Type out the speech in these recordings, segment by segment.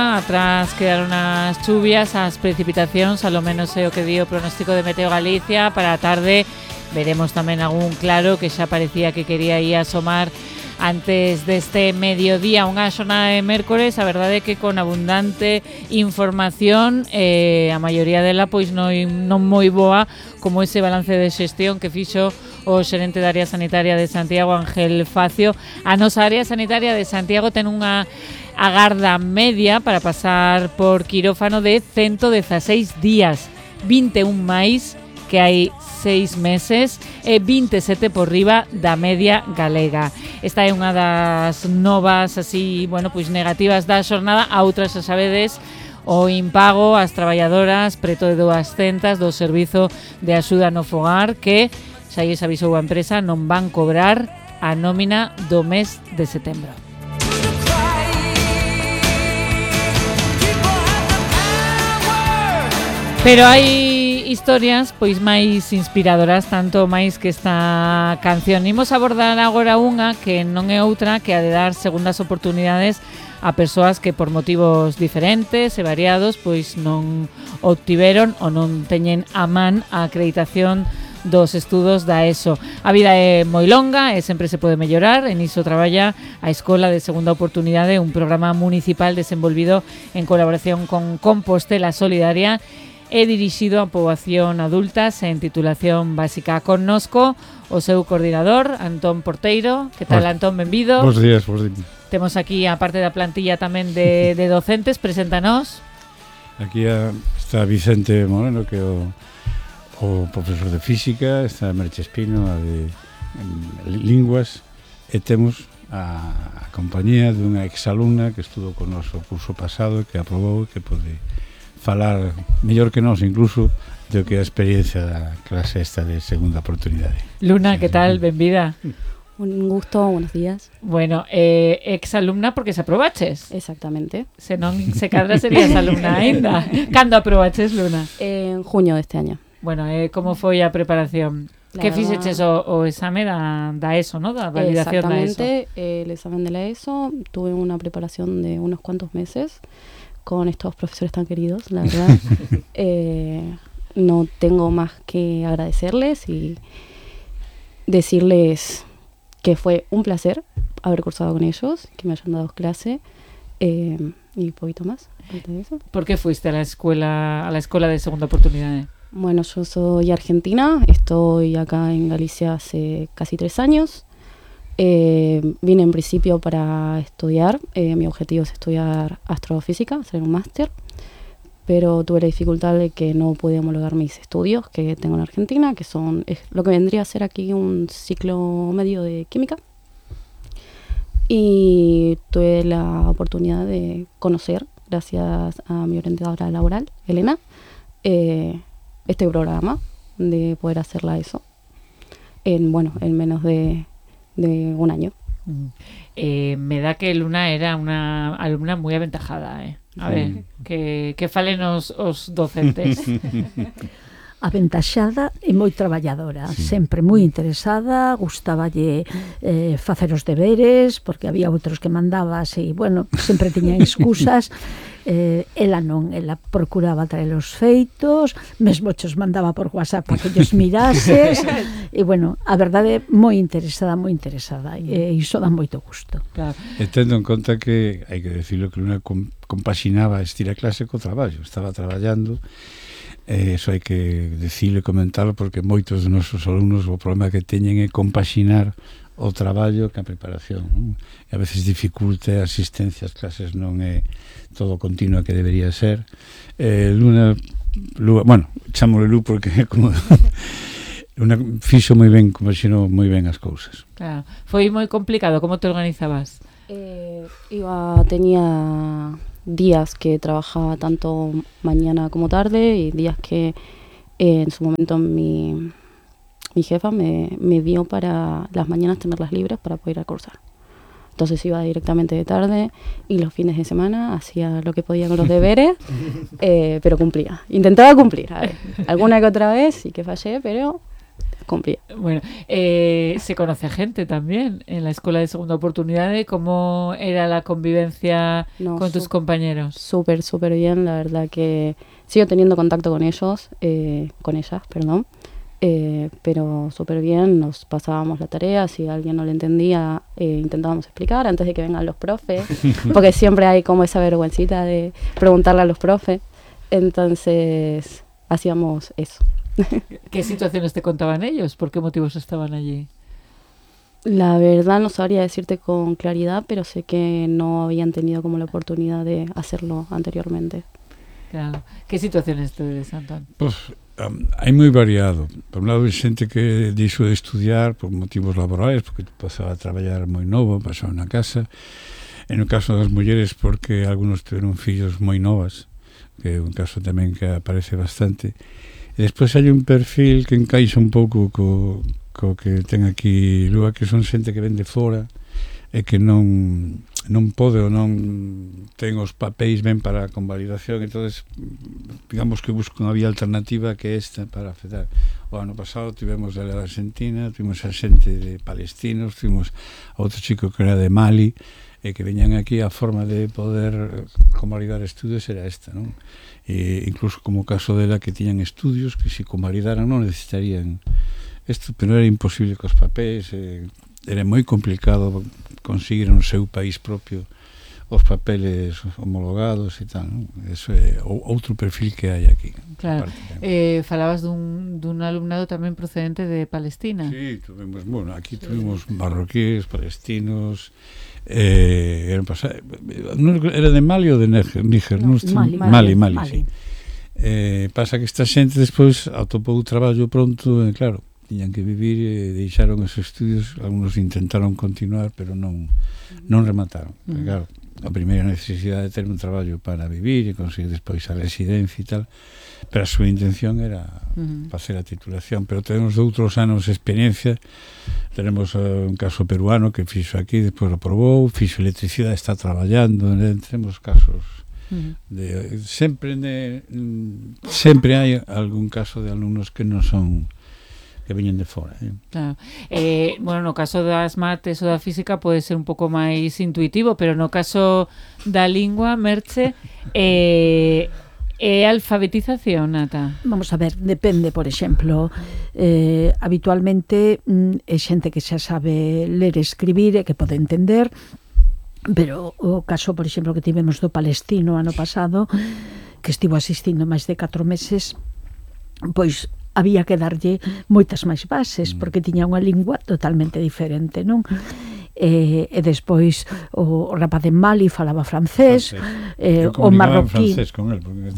Atrás quedaron as chuvias, as precipitacións, a lo menos é o que di o pronóstico de Meteo Galicia. Para a tarde veremos tamén algún claro que xa parecía que quería ir asomar antes deste mediodía. Unha xornada de mércores, a verdade é que con abundante información, a maioría dela pois non moi boa, como ese balance de xestión que fixo o xerente da área sanitaria de Santiago, Ángel Facio. A nosa área sanitaria de Santiago ten unha agarda media para pasar por quirófano de 116 días, 21 máis que hai 6 meses e 27 por riba da media galega. Esta é unha das novas así, pois negativas da xornada. A outras, xa sabedes, o impago ás traballadoras preto de 200 do servizo de axuda no fogar que xa lles avisou a empresa non van cobrar a nómina do mes de setembro. Pero hai historias pois máis inspiradoras, tanto máis que esta canción. Imos abordar agora unha que non é outra que a de dar segundas oportunidades a persoas que por motivos diferentes e variados pois non obtiveron ou non teñen a man a acreditación dos estudos da ESO. A vida é moi longa e sempre se pode mellorar. En iso traballa a Escola de Segunda Oportunidade, un programa municipal desenvolvido en colaboración con Compostela Solidaria e dirixido a poboación adulta sen titulación básica. Connosco o seu coordinador, Antón Porteiro. Que tal, Antón? Benvido. Bos días, bos días. Temos aquí a parte da plantilla tamén de docentes. Preséntanos. Aquí está Vicente Moreno, que é o profesor de física, está Merche Espino, a de linguas, e temos a compañía dunha exalumna que estudou con noso curso pasado, que aprobou e que pode falar mellor que nós incluso do que a experiencia da clase esta de segunda oportunidade. Luna, que tal? Benvida. Un gusto, buenos días. Bueno, exalumna porque se aprobaches. Exactamente. Se non se cadra serías alumna aínda. Cando aprobaches, Luna? En junio de este año. Bueno, como foi a preparación? Que fixeches o exame da ESO, ¿no? Da validación da ESO. Exactamente, el examen de la ESO. Tuve una preparación de unos cuantos meses con estos profesores tan queridos, la verdad. No tengo más que agradecerles y decirles que fue un placer haber cursado con ellos, que me hayan dado clase y un poquito más. ¿Por qué fuiste a la escuela de segunda oportunidad? Bueno, yo soy argentina, estoy acá en Galicia hace casi 3 años. Vine en principio para estudiar, mi objetivo es estudiar astrofísica, hacer un máster, pero tuve la dificultad de que no pude homologar mis estudios que tengo en Argentina, que es lo que vendría a ser aquí un ciclo medio de química. Y tuve la oportunidad de conocer, gracias a mi orientadora laboral, Elena, este programa, de poder hacerla eso en menos de un año. Me da que Luna era una alumna moi aventajada, A ver, que falen os docentes. Aventaxada e moi traballadora, sempre moi interesada, gustáballe facer os deberes, porque había outros que mandabas e, sempre tiñan excusas. Ela non, ela procuraba traer os feitos, mesmo chos mandaba por WhatsApp para que os mirases, e, a verdade, moi interesada, e iso dá moito gusto. Claro. E tendo en conta que, hai que decirlo, que Luna compaxinaba estira clase co traballo, estaba traballando. Eso hai que decirlo e comentarlo, porque moitos dos nosos alumnos o problema que teñen é compaxinar o traballo que a preparación, non? E a veces dificulta a asistencia ás clases, non é todo continuo que debería ser. Luna, chámole Lu porque é como Luna fixo moi ben, compaxinou moi ben as cousas. Claro. Foi moi complicado, como te organizabas? Tenía días que trabajaba tanto mañana como tarde y días que en su momento mi jefa me dio para las mañanas tenerlas libres para poder ir a cursar. Entonces iba directamente de tarde y los fines de semana hacía lo que podía con los deberes, pero cumplía. Intentaba cumplir, a ver, alguna que otra vez sí que fallé, pero cumplía. Bueno, se conoce gente también en la Escuela de Segunda Oportunidad. ¿Cómo era la convivencia con tus compañeros? Súper, súper bien. La verdad que sigo teniendo contacto con ellos, con ellas, perdón. Pero súper bien, nos pasábamos la tarea, si alguien no le entendía, intentábamos explicar antes de que vengan los profes, porque siempre hay como esa vergüencita de preguntarle a los profes, entonces hacíamos eso. ¿Qué situaciones te contaban ellos? ¿Por qué motivos estaban allí? La verdad no sabría decirte con claridad, pero sé que no habían tenido como la oportunidad de hacerlo anteriormente. Claro. ¿Qué situaciones te ves, Antón? Pues hai moi variado. Por un lado, hai xente que dixo de estudiar por motivos laborais, porque pasaba a traballar moi novo, pasaba na casa. En o caso das mulleres, porque algunos tiveron fillos moi novas, que é un caso tamén que aparece bastante. E despois hai un perfil que encaixa un pouco co que ten aquí Lua, que son xente que ven de fora e que non pode ou non ten os papéis ben para a convalidación, entonces digamos que busco unha vía alternativa que esta para afectar. O ano pasado tivemos a Argentina, tivemos a xente de palestinos, tivemos a outro chico que era de Mali, e que veñan aquí, a forma de poder convalidar estudios era esta, non? E incluso como o caso dela que tiñan estudios que se convalidaran non necesitarían isto, pero era imposible cos papéis, era moi complicado conseguir no seu país propio os papeles homologados e tal, non? Eso é outro perfil que hai aquí. Claro. Falabas dun alumnado tamén procedente de Palestina. Sí, tuvimos, bueno, aquí tuvimos marroquíes, palestinos, era de Mali ou de Níger? Mali, sí. Pasa que esta xente despois atopou traballo pronto, e claro, tiñan que vivir e deixaron os estudios, algunos intentaron continuar, pero non remataron. Porque, claro, a primeira necesidade de ter un traballo para vivir e conseguir despois a residencia e tal, pero a súa intención era facer a titulación, pero tenemos de outros anos de experiencia. Tenemos un caso peruano que fixo aquí, despois lo aprobou, fixo electricidade, está traballando, tenemos casos sempre hai algún caso de alumnos que non son, que veñen de fora. Claro. Bueno, no caso das mates ou da física pode ser un pouco máis intuitivo, pero no caso da lingua, Merche, é alfabetización, Nata? Vamos a ver, depende, por exemplo, habitualmente é xente que xa sabe ler e escribir e que pode entender, pero o caso, por exemplo, que tivemos do palestino ano pasado, que estivo asistindo máis de 4 meses, pois había que darlle moitas máis bases porque tiña unha lingua totalmente diferente, non? E despois o rapaz de Mali falaba francés, o marroquí con él, porque...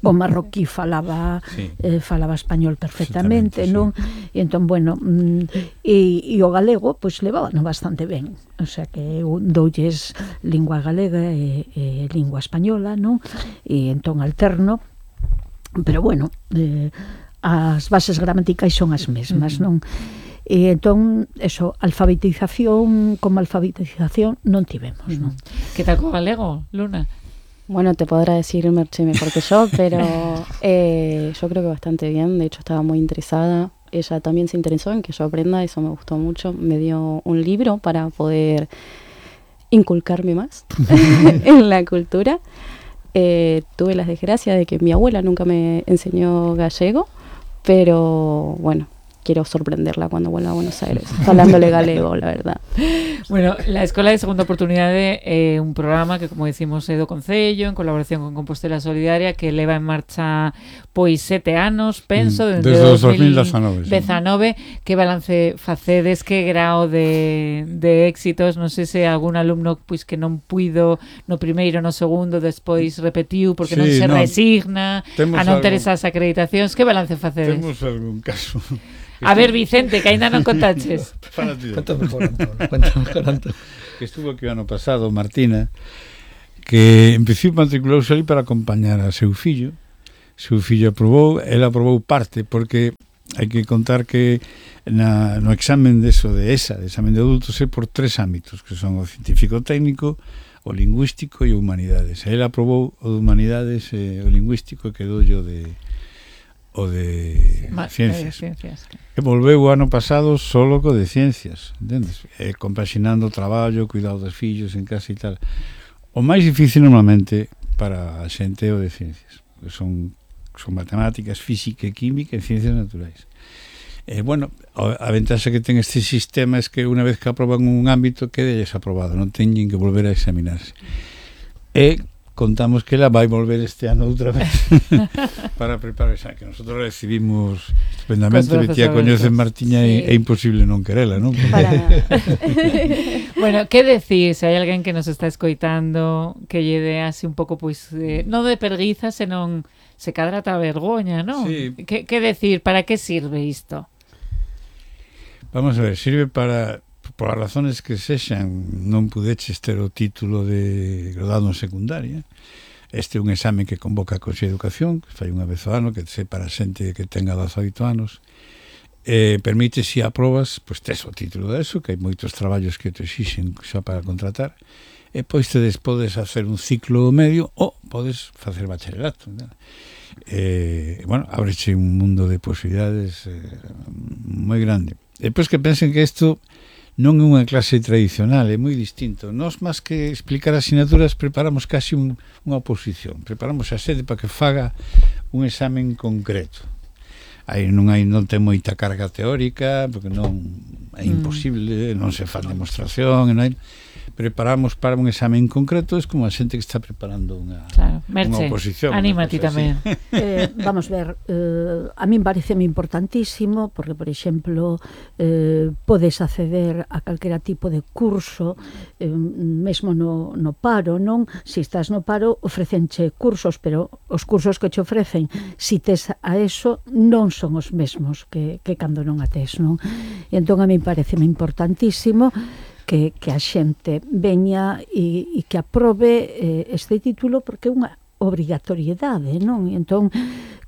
o marroquí falaba español perfectamente, non? E entón, bueno, e o galego pois levábano bastante ben, o sea que doulles lingua galega e lingua española, non? E entón alterno, pero bueno, as bases gramaticais son as mesmas, non? E entón, eso, alfabetización como alfabetización non tivemos, non? Que tal co galego, Luna? Bueno, te podrá decir Merche mejor que yo, pero yo creo que bastante bien. De hecho, estaba muy interesada. Ella también se interesó en que yo aprenda, eso me gustó mucho. Me dio un libro para poder inculcarme más en la cultura. Tuve la desgracia de que mi abuela nunca me enseñó gallego, pero bueno, quiero sorprenderla cuando vuelva a Buenos Aires, hablándole galego, la verdad. Bueno, la Escola de Segunda Oportunidade é un programa que, como decimos, é do Concello, en colaboración con Compostela Solidaria, que leva en marcha pois 7 anos, penso, desde 2019. Que balance facedes, que grao de éxitos? Non sei se algún alumno pois que non puido no primeiro, no segundo, despois repetiu porque non se resigna a non ter esas acreditacións. Que balance facedes? Temos algún caso... A ver, Vicente, que ainda non contaches. Cuéntame mejor, Antón. Que estuvo aquí o ano pasado, Martina, que empecé matriculouse ali para acompañar a seu fillo. Seu fillo aprobou, ela aprobou parte, porque hai que contar que no examen de ESA, de examen de adultos, é por 3 ámbitos, que son o científico técnico, o lingüístico e o humanidades. Ela aprobou o de humanidades e o lingüístico e quedou yo de o de ciencias. E volveu o ano pasado solo co de ciencias, entendes? Compaxinando o traballo, cuidado dos fillos en casa e tal. O máis difícil normalmente para a xente é o de ciencias, son matemáticas, física e química e ciencias naturais. Bueno, a ventaxa que ten este sistema é que unha vez que aproban un ámbito quede desaprobado, non teñen que volver a examinarse. E contamos que ela vai volver este ano outra vez para preparar esa, que nosotros recibimos estupendamente, Betía coñece Martiña sí. É imposible non querela, non? Bueno, que decir, se hai alguén que nos está escoitando que lle dé así un pouco, pois, non de perguiza, senón se cadra ta vergoña, non? Sí. Que decir, para que sirve isto? Vamos a ver, sirve para... Por as razones que sexan, non pudeches ter o título de graduado en secundaria. Este é un exame que convoca a Consello de Educación, que fai unha vez ao ano, que se para xente que tenga 18 anos. Permite, se aprobas, pois tes o título de eso, que hai moitos traballos que te exixen xa para contratar, e pois tedes podes hacer un ciclo medio ou podes facer bacharelato. Bueno, ábreche un mundo de posibilidades moi grande. Depois que pensen que isto non é unha clase tradicional, é moi distinto. Nós, máis que explicar asignaturas, preparamos casi unha oposición. Preparamos a sede para que faga un examen concreto. Aí non ten moita carga teórica, porque non é imposible, non se fan demostración, non hai... Preparamos para un examen concreto, es como a xente que está preparando unha oposición. Anímate tamén. Vamos ver, a min pareceme importantísimo, porque, por exemplo, podes acceder a calquera tipo de curso, mesmo no paro, non? Se estás no paro, ofrecenche cursos, pero os cursos que che ofrecen, si tes a eso, non son os mesmos que cando non a tes, non? E entón a min pareceme importantísimo que a xente veña e que aprobe este título, porque é unha obrigatoriedade, non? E entón,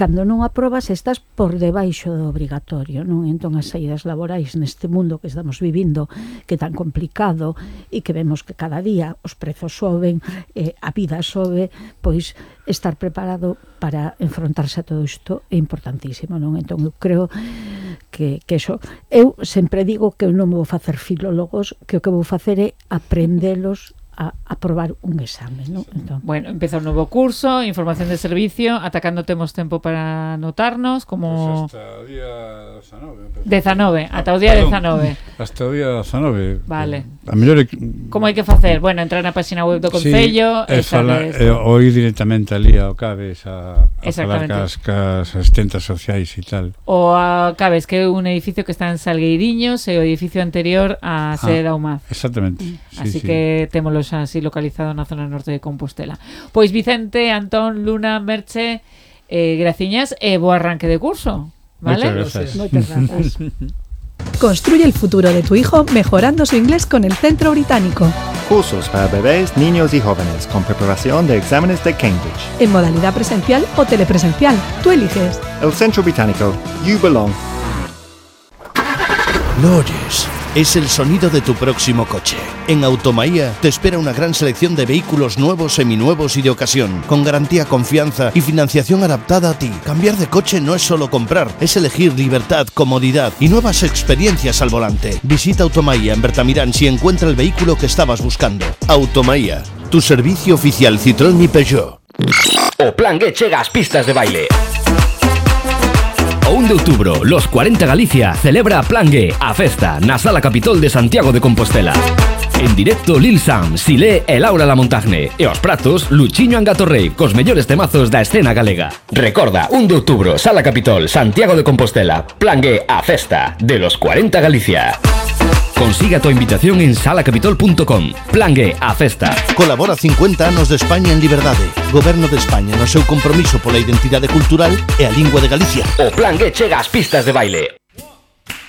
cando non aprobas, estás por debaixo do obrigatorio, non? E entón, as saídas laborais neste mundo que estamos vivindo, que é tan complicado, e que vemos que cada día os prezos soben, a vida sobe, pois estar preparado para enfrontarse a todo isto é importantísimo, non? Entón, eu creo que eso, eu sempre digo que eu non vou facer filólogos, que o que vou facer é aprendelos a aprobar un exame, non? Entón, bueno, empeza un novo curso, información de servicio, ata cando temos tempo para anotarnos, como... Pues hasta o día 19. 19, ata o día 19. Hasta o día 19. Vale. A mellor... Como hai que facer? Bueno, entrar na página web do Concello... Sí, ou ir directamente ali ao CABES a falar cas asistentas sociais e tal. O a CABES, que é un edificio que está en Salgueiriños, e o edificio anterior a sede da UMAD. Exactamente. Así que témolo así localizado na zona norte de Compostela. Pois Vicente, Antón, Luna, Merche, graciñas e bo arranque de curso, ¿vale? Muchas gracias. moitas grazas. Construye el futuro de tu hijo mejorando su inglés con el Centro Británico. Cursos para bebés, niños y jóvenes con preparación de exámenes de Cambridge. En modalidad presencial o telepresencial, tú eliges. El Centro Británico. You belong. ¿Lo oyes? Es el sonido de tu próximo coche. En Automaía te espera una gran selección de vehículos nuevos, seminuevos y de ocasión, con garantía, confianza y financiación adaptada a ti. Cambiar de coche no es solo comprar, es elegir libertad, comodidad y nuevas experiencias al volante. Visita Automaía en Bertamirán si encuentra el vehículo que estabas buscando. Automaía, tu servicio oficial Citroën y Peugeot. O Plangue chega ás pistas de baile. O 1 de outubro, los 40 Galicia celebra Plangue, a festa na Sala Capitol de Santiago de Compostela. En directo Lil Sam, Silé e Laura Lamontagne. E os pratos, Luchiño Angatorrey, cos mellores temazos da escena galega. Recorda, 1 de outubro, Sala Capitol, Santiago de Compostela. Plangue, a festa de los 40 Galicia. Consiga tu invitación en salacapitol.com. Plangue, a festa. Colabora 50 anos de España en liberdade. Goberno de España no seu compromiso pola identidade cultural e a lingua de Galicia. O Plangue chega ás pistas de baile.